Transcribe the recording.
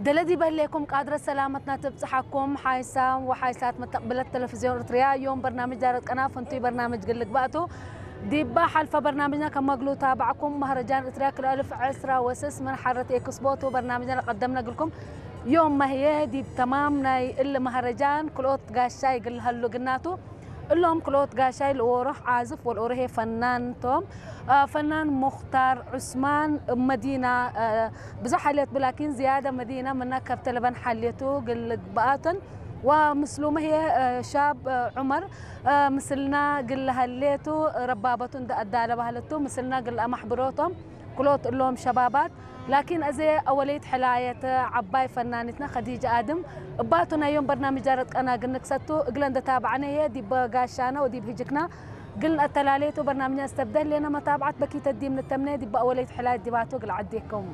ስለዚ በህሌኩም ቃድረ ሰላመትና ትብጽሓኩም ሓይሳም ወሓይሳት መተቕብለት ቴሌቪዝዮን ኤርትርያ እዮም። በርናምጅ ዳረት ቀና ፍንቱይ በርናምጅ ግልግባእቱ ዲባ ሓልፈ በርናምጅና ከመግሉ ታባዕኩም መህረጃን ኤርትርያ ክልኣልፍ ዕስራ ወስስ ምን ሓረት ኤክስቦቱ በርናምጅና ለቀደም ነግልኩም ዮም መህየ ዲብ ተማም ናይ እል መህረጃን ክልኦት ጋሻ ይግልሃሉ ግናቱ እሎም ክልኦት ጋሻይ ልወሮሕ ዓዝፍ ወልኦሮሄ ፈናንቶም ፈናን ሙኽታር ዑስማን መዲና ብዙሕ ሓልየት ብላኪን ዝያደ መዲና ምና ከብተ ለበን ሓልየቱ ግልግባኣተን ወምስሉመ ህየ ሻብ ዑመር ምስልና ግል ሃሌቱ ረባበቱ እንደ ኣዳለ ባህለቱ ምስልና ግል ኣማሕብሮቶም ክሎት እሎም ሸባባት ላኪን እዚ ኣወለይት ሕላየት ዓባይ ፈናኒትና ኸዲጃ ኣድም እባቱ ናዮም በርናምጅ ዳረት ቀና ግንክሰቱ እግለ እንደታባዕነ ህየ ዲበ ጋሻነ ወዲብ ህጅክና ግል ኣተላለየቱ በርናምጅና ዝተብደል ሌና መታብዓት በኪተ ዲም ንተምነ ዲበ ኣወለይት ሕላየት ዲባቱ ግል ዓዴኩም